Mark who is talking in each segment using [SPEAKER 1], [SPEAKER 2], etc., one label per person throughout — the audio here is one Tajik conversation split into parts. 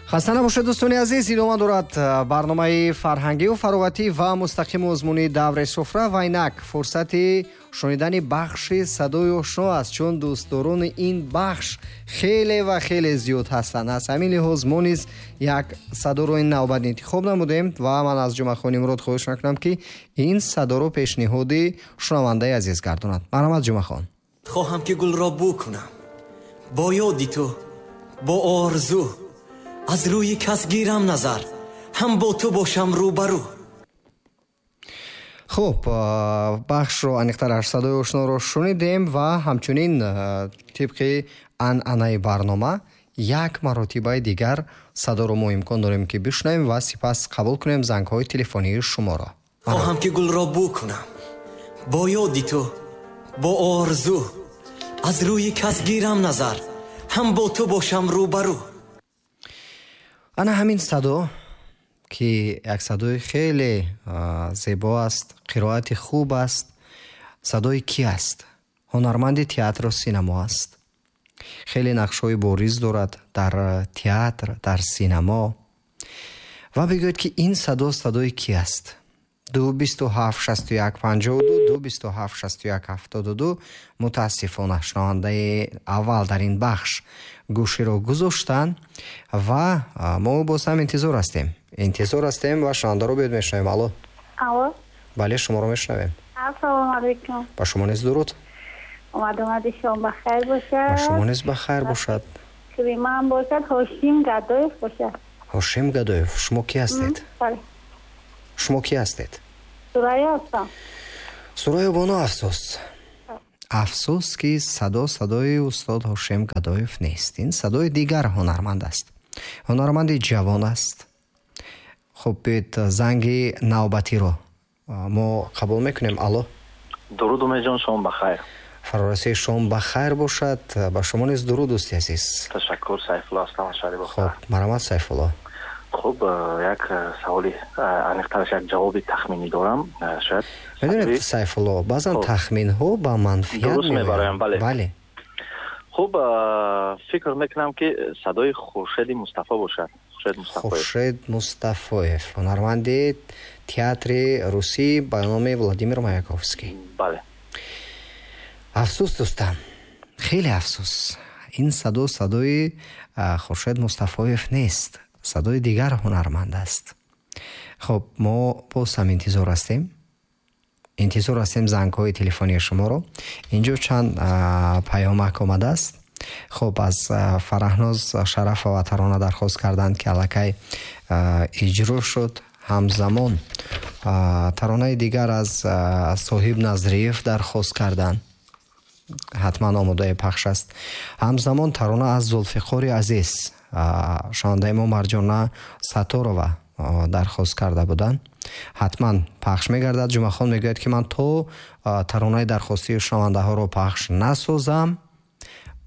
[SPEAKER 1] Хаста набошед, дӯстони азиз. Идома дорад барномаи фарҳангию фароғатӣ ва мустақими озмуни даври суфра ва инак фурсати шунидани бахши садои ошно аст, чун дӯстдорони ин бахш хеле ва хеле зиёд ҳастанд. Аз ҳамин лиҳоз мо низ як садоро ин навбат интихоб намудем ва ман аз Ҷумъахони Мурод хоҳиш мекунам, ки ин садоро пешниҳоди шунавандаи азиз гардонад. Марҳамат, Ҷумъахон.
[SPEAKER 2] Хоҳам, ки гулро бӯ кунам бо ёди ту, бо орзу, аз рӯи кас гирам назар, ҳам бо ту бошам рӯбарӯ.
[SPEAKER 1] Хуб, бахшро, аниқтараш садои ошноро шунидем ва ҳамчунин тибқи анъанаи барнома як маротибаи дигар садоро мо имкон дорем, ки бишунавем ва сипас қабул кунем зангҳои телефонии шуморо.
[SPEAKER 2] Хоҳам, ки гулро бӯ кунам бо ёди ту, бо орзу, аз рӯи кас гирам назар, ҳам бо ту бошам рӯбарӯ.
[SPEAKER 1] Ана ҳамин садо, ки як садои хеле зебо аст, қироати хуб аст, садои кӣ аст? Ҳунарманди театру синамо аст, хеле нақшҳои бориз дорад дар театр, дар синамо. Ва бигӯед, ки ин садо садои кӣ аст? 2 27 61 52, 2 27 61 72. Мутаассифона, шунавандаи аввал дар ин бахш гӯширо гузоштанд ва мо боз ҳам интизор ҳастем, интизор ҳастем ва шунавандаро биёд мешунавем. Алло.
[SPEAKER 3] Алло.
[SPEAKER 1] Бале, шуморо мешунавем.
[SPEAKER 3] Ассалому алайкум.
[SPEAKER 1] Ба шумо низ дуруд.
[SPEAKER 3] Омадомади шом ба хайр бошад.
[SPEAKER 1] Ба шумо низ ба хайр бошад.
[SPEAKER 3] Криман бошад, Ҳошим Гадоев бошад.
[SPEAKER 1] Ҳошим Гадоев. Шумо кӣ ҳастед?
[SPEAKER 3] Бале.
[SPEAKER 1] Шумо кӣ ҳастед?
[SPEAKER 3] Сурайё ҳастам.
[SPEAKER 1] Сурайё бону, афсӯс, афсӯс, ки садо садои устод Ҳошим Гадоев нест. Ин садои дигар ҳунарманд аст, ҳунарманди ҷавон аст. Хуб, биёед, занги навбатиро мо қабул мекунем. Алло.
[SPEAKER 4] Дуруд, Умедҷон, шом ба хайр.
[SPEAKER 1] Фарорасии шом ба хайр бошад. Ба шумо низ дуруд, дӯсти азиз.
[SPEAKER 4] Ташаккур. Сайфулло ҳастам аз шаҳри Бохтар.
[SPEAKER 1] Хуб, марҳамат, Сайфулло.
[SPEAKER 4] Хуб, як саволи, аниқтараш як ҷавоби тахминӣ дорам, шояд.
[SPEAKER 1] Медонед, Сайфулло, баъзан тахминҳо ба манфиат
[SPEAKER 4] дуруст мебароям, бале.
[SPEAKER 1] Бале.
[SPEAKER 4] Хуб, фикр мекунам, ки садои Хуршеди Мустафо бошад, Хуршед Мустафоев.
[SPEAKER 1] Хуршед Мустафоев, ҳунарманди театри русӣ ба номи Владимир Маяковский.
[SPEAKER 4] Бале.
[SPEAKER 1] Афсӯс, дӯстам, хеле афсӯс, ин садо садои Хуршед Мустафоев нест, садои дигар ҳунарманд аст. Хуб, мо боз ҳам интизор ҳастем, интизор ҳастем зангҳои телефонии шуморо. Инҷо чанд паёмак омадааст. Хуб, аз Фараҳноз Шарафова тарона дархост карданд, ки аллакай иҷро шуд. Ҳамзамон таронаи дигар аз Соҳиб Назриев дархост карданд, ҳатман омодаи пахш аст. Ҳамзамон тарона аз Зулфиқори азиз, шунавандаи мо Марҷона Сатторова дархост карда буданд, ҳатман пахш мегардад. Ҷумъахон мегӯяд, ки ман то таронаи дархостии шунавандаҳоро пахш насозам,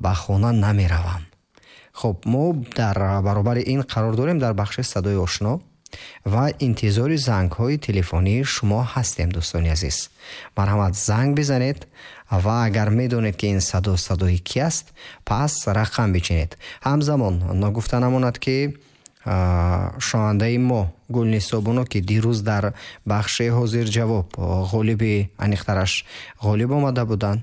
[SPEAKER 1] ба хона намеравам. Хуб, мо дар баробари ин қарор дорем дар бахши садои ошно ва интизори зангҳои телефонии шумо ҳастем, дӯстони азиз. Марҳамат, занг бизанед ва агар медонед, ки ин садо садои кӣ аст, пас рақам бичинед. Ҳамзамон ногуфта намонад, ки шунавандаи мо Гулнисо Боно, ки дирӯз дар бахши ҳозирҷавоб ғолиби, аниқтараш ғолиб омада буданд,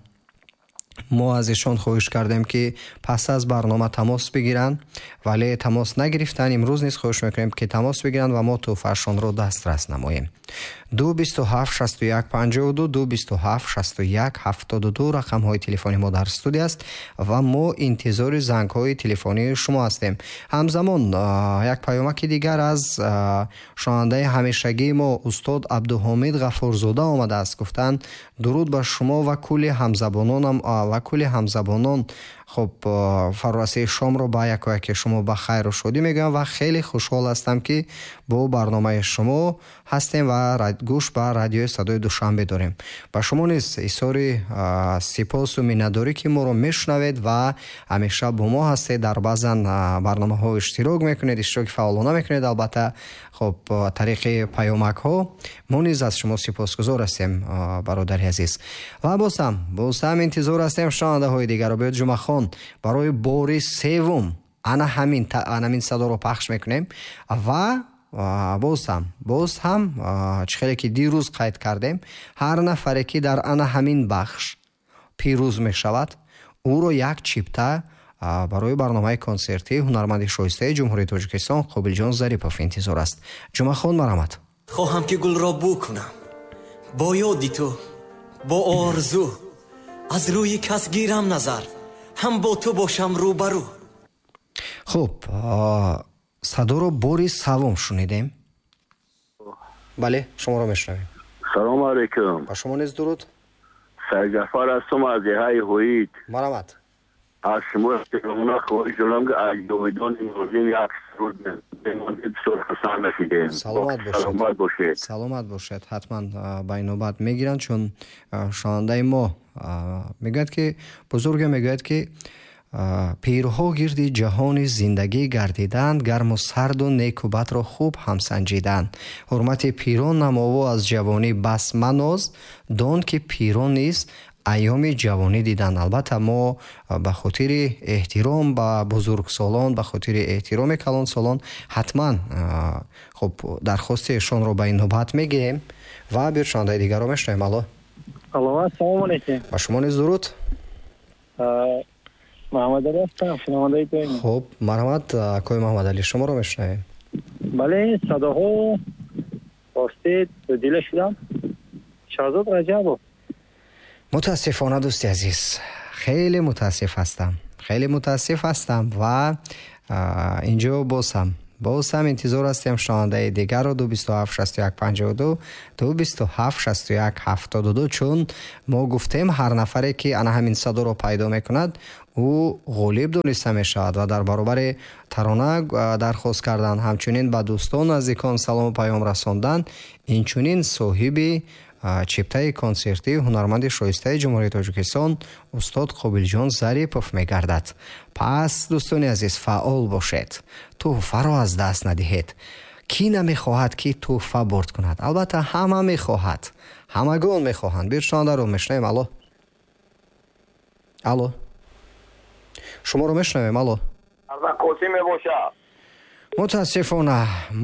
[SPEAKER 1] мо аз ишон хоҳиш кардем, ки пас аз барнома тамос бигиранд, вале тамос нагирифтанд. Имрӯз низ хоҳиш мекунем, ки тамос бигиранд ва мо тӯҳфаашонро дастрас намоем. 2 27 61 52, 2 27 61 72 рақамҳои телефони мо дар студия аст ва мо интизори зангҳои телефонии шумо ҳастем. Ҳамзамон як паёмаки дигар аз шунавандаи ҳамешагии мо устод Абдуҳомид Ғафурзода омадааст. Гуфтанд: дуруд ба шумо ва кулли ҳамзабононам ва кулли ҳамзабонон. Хуб, фарорасии шомро ба якояки шумо ба хайру шодӣ мегӯям ва хеле хушҳол ҳастам, ки бо барномаи шумо ҳастем ва гӯш ба радиои Садои Душанбе дорем. Ба шумо низ изҳори сипосу миннатдорӣ, ки моро мешунавед ва ҳамеша бо мо ҳастед, дар баъзан барномаҳо иштирок мекунед, иштироки фаъолона мекунед, албатта, хуб, тариқи паёмакҳо. Мо низ аз шумо сипосгузор ҳастем, бародари азиз. Ва боз ҳам интизор ҳастем шунавандаҳои дигарро. Биёед, Ҷумъахон, барои бори севум Ана ҳамин садоро пахш мекунем ва боз ҳам чӣ хеле ки дирӯз қайд кардем, ҳар нафаре ки дар ана ҳамин бахш пирӯз мешавад, ӯро як чипта барои барномаи консертии ҳунарманди шоистаи Ҷумҳурии Тоҷикистон Қобилҷон Зарипов интизор аст. Ҷумъахон, марҳамат.
[SPEAKER 2] Хоҳам ки гулро бӯ кунам бо ёди ту, бо орзу, аз рӯи кас гирам назар, ҳам бо ту бошам рӯбарӯ.
[SPEAKER 1] Хуб, садоро бори саввум шунидем. Бале, шуморо мешунавем.
[SPEAKER 5] Салому алайкум.
[SPEAKER 1] Ба шумо низ дуруд.
[SPEAKER 5] Сайджафар ҳастам аз деҳаи Ҳоид.
[SPEAKER 1] Марҳамат.
[SPEAKER 5] Аз шумо эҳтиромона хоҳиш дорам, ки аз ҷовидони Нозим як суруд бемонед, бисёр хурсанд мешидем.
[SPEAKER 1] Саломат бошед.
[SPEAKER 5] Саломат бошед.
[SPEAKER 1] Саломат бошед. Ҳатман ба ин навбат мегиранд, чун шунавандаи мо мегӯяд, ки бузурге мегӯяд, ки пирҳо гирди ҷаҳони зиндагӣ гардиданд, гарму сарду неку бадро хуб ҳамсанҷиданд. Ҳурмати пирон намову аз ҷавонӣ бас маноз, дон ки пирон низ айёми ҷавонӣ диданд. Албатта мо ба хотири эҳтиром ба бузургсолон, ба хотири эҳтироми калонсолон ҳатман хуб дархости эшонро ба ин навбат мегирем ва биршунандаи дигарро мешунавем. Алло.
[SPEAKER 6] Алло, ассалому алайкум.
[SPEAKER 1] Ба шумо низ дуруд.
[SPEAKER 6] Муҳаммадалӣ ҳастам, шунавандаи доимӣ.
[SPEAKER 1] Хуб, марҳамат, акои Муҳаммадалӣ, шуморо мешунавем.
[SPEAKER 6] Бале, садоҳо ростӣ дила шудам. Шаҳзод Раҷабов.
[SPEAKER 1] Мутаассифона, дӯсти азиз, хеле мутаассиф ҳастам. Хеле мутаассиф ҳастам ва инҷо боз ҳам интизор ҳастем шунавандаи дигарро. 227 61 52, 227 61 72, чун мо гуфтем ҳар нафаре ки ана ҳамин садоро пайдо мекунад, ӯ ғолиб дониста мешавад ва дар баробари тарона дархост кардан, ҳамчунин ба дӯстон наздикон салому паём расондан, инчунин соҳиби чиптаи консертии ҳунарманди шоистаи Ҷумҳурии Тоҷикистон устод Қобилҷон Зарипов мегардад. Пас дӯстони азиз, фаъол бошед, тӯҳфаро аз даст надиҳед. Кӣ намехоҳад ки тӯҳфа бурд кунад? Албатта ҳама мехоҳад, ҳамагон мехоҳанд. Биршунандаро мешунавем. Алло, алло, шуморо мешунавем. Алло.
[SPEAKER 5] Қосим мебошад.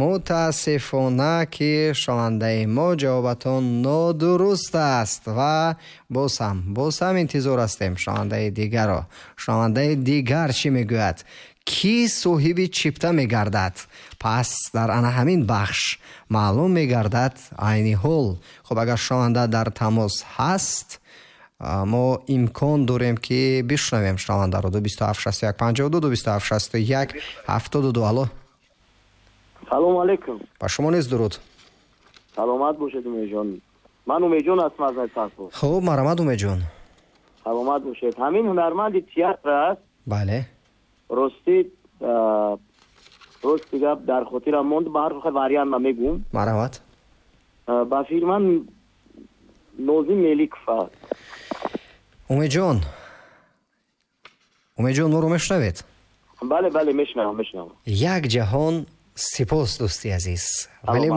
[SPEAKER 1] Мутаассифона ки шунавандаи мо ҷавобатон нодуруст аст ва боз ҳам интизор ҳастем шунавандаи дигарро. Шунавандаи дигар чӣ мегӯяд? Кӣ соҳиби чипта мегардад? Пас дар ана ҳамин бахш маълум мегардад айни ҳол. Хуб, агар шунаванда дар тамос ҳаст, мо имкон дорем ки бишунавем шунавандаро. 227 61 52, 227 61 72. Алло.
[SPEAKER 7] Салому алайкум.
[SPEAKER 1] Ба шумо низ дуруд.
[SPEAKER 7] Саломат бошед, Умедҷон. Ман Умедҷон ҳастам аз Найсарпур.
[SPEAKER 1] Хуб, марҳамат, Умедҷон.
[SPEAKER 7] Саломат бошед. Ҳамин ҳунарманди театр аст.
[SPEAKER 1] Бале.
[SPEAKER 7] Рости гап дар хотирам монд, ба ҳар ҳол вариант ман мегӯм.
[SPEAKER 1] Марҳамат.
[SPEAKER 7] Ба фикри ман Нозим Меликов аст.
[SPEAKER 1] Умедҷон, моро мешунавед?
[SPEAKER 7] Бале, бале, мешунавам.
[SPEAKER 1] Як ҷаҳон сипос, дӯсти азиз, вале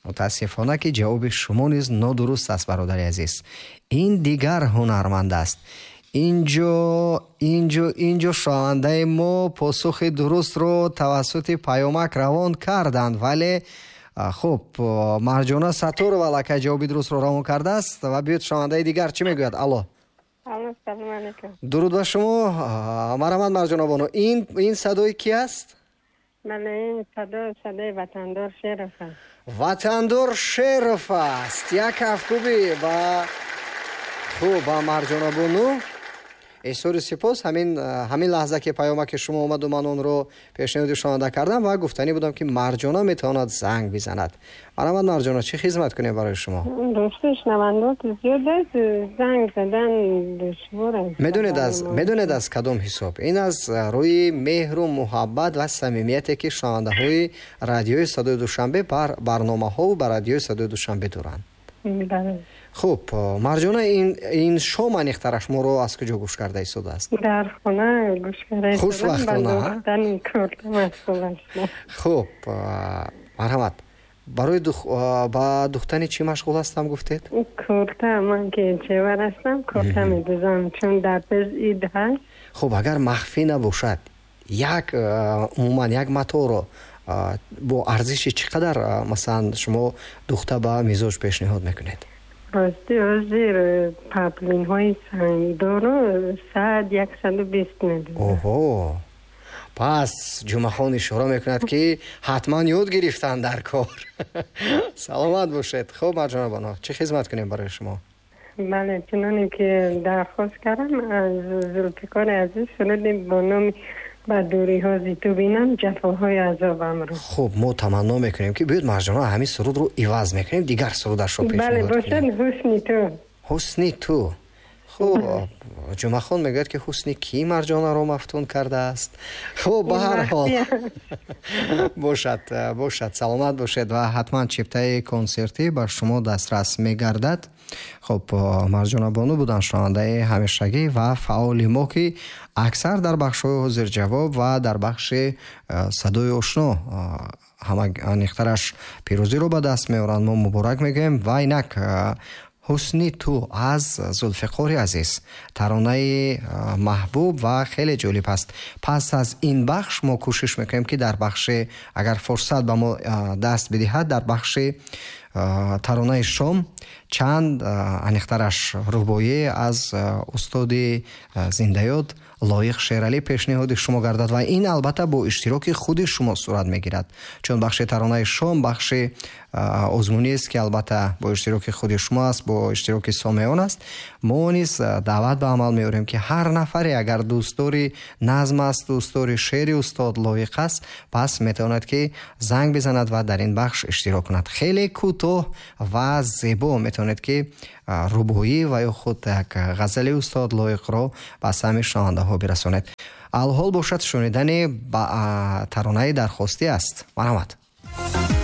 [SPEAKER 1] мутаассифона ки ҷавоби шумо низ нодуруст аст, бародари азиз. Ин дигар ҳунарманд аст. Инҷо шунавандаи мо посухи дурустро тавассути паёмак равон карданд, вале хуб, Марҷона Сатторова аллакай ҷавоби дурустро равон кардааст. Ва биёед шунавандаи дигар чӣ мегӯяд? Алло.
[SPEAKER 8] Алло, салому алайкум.
[SPEAKER 1] Дуруд ба шумо. Марҳамат, Марҷона бону. Ин садои кӣ аст?
[SPEAKER 8] Бале, ин садо садои Ватандор Шеров аст.
[SPEAKER 1] Ватандор Шеров аст. Як кафкӯбӣ ба хуб ба Марҷона бону. Эҳсори сипос. Ҳамин лаҳза ки паёмаки шумо омаду ман онро пешниҳоди шунаванда кардам ва гуфтанӣ будам ки Марҷона метавонад занг бизанад. Марҳамат, Марҷона, чӣ хизмат кунем барои шумо?
[SPEAKER 8] Рости шунавандот зиёд аст, занг задан душвор аст.
[SPEAKER 1] Медонед аз кадом ҳисоб? Ин аз рӯи меҳру муҳаббат ва самимияте ки шунавандаҳои радиои Садои Душанбе бар барномаҳову ба радиои Садои Душанбе доранд. Хуб, Марҷона, ин шом аниқтараш моро аз куҷо гӯш карда истодааст?
[SPEAKER 8] Дар хона гӯш карда истодам.
[SPEAKER 1] Хушбахтона. Хуб, марҳамат. Барои ба духтани чӣ машғул ҳастам гуфтед?
[SPEAKER 8] Курта, ман ки чевар ҳастам, курта медӯзам, чун дар пеш ид ҳаст.
[SPEAKER 1] Хуб, агар махфӣ набошад, Як умуман як маторо бо арзиши чӣ қадар, масалан, шумо духта ба мизоҷ пешниҳод мекунед?
[SPEAKER 8] Рости, ҳозир паплинҳои сангдору 100, 120 медиҳам.
[SPEAKER 1] Оҳо, пас Ҷумъахон ишора мекунад, ки ҳатман ёд гирифтан дар кор. Саломат бошед. Хуб, Марҷонабоно, чӣ хизмат кунем барои шумо?
[SPEAKER 8] Бале, чуноне ки дархост кардам аз Зулфиқори азиз, суруди бо номи «Ба дуриҳо зи ту бинам ҷафоҳои азобамро».
[SPEAKER 1] Хуб, мо таманно мекунем, ки биёед, Марҷона, ҳамин сурудро иваз мекунем, дигар сурудашро пешниҳод.
[SPEAKER 8] Бошад «Ҳусни ту».
[SPEAKER 1] «Ҳусни ту». Хуб, Ҷумъахон мегӯяд, ки ҳусни кӣ Марҷонаро мафтун кардааст? Хуб, ба ҳар ҳол бошад, бошад. Саломат бошед ва ҳатман чиптаи консертӣ ба шумо дастрас мегардад. Хуб, Марҷона бону буданд, шунавандаи ҳамешагӣ ва фаъоли мо, ки аксар дар бахшҳои ҳозирҷавоб ва дар бахши садои ошно ҳама аниқтараш пирӯзиро ба даст меоранд. Мо муборак мегӯем ва инак «Ҳусни ту» аз Зулфиқори азиз, таронаи маҳбуб ва хеле ҷолиб аст. Пас аз ин бахш мо кӯшиш мекунем, ки дар бахши, агар фурсат ба мо даст бидиҳад, дар бахши таронаи шом чанд, аниқтараш рубоӣ аз устоди зиндаёд Лоиқ Шералӣ пешниҳоди шумо гардад ва ин албатта бо иштироки худи шумо сурат мегирад, чун бахши таронаи шом бахши озмуниест, ки албатта бо иштироки худи шумо аст, бо иштироки сомеон аст. Мо низ даъват ба амал меорем, ки ҳар нафаре агар дӯстдори назм аст, дӯстдори шеъри устод Лоиқ аст, пас метавонад, ки занг бизанад ва дар ин бахш иштирок кунад. Хеле кӯтоҳ ва зебо метавонед, ки рубоӣ ва ё худ як ғазали устод Лоиқро ба самъи шунавандаҳо бирасонед. Алҳол бошад, шунидани таронаи дархостӣ аст. Марҳамат.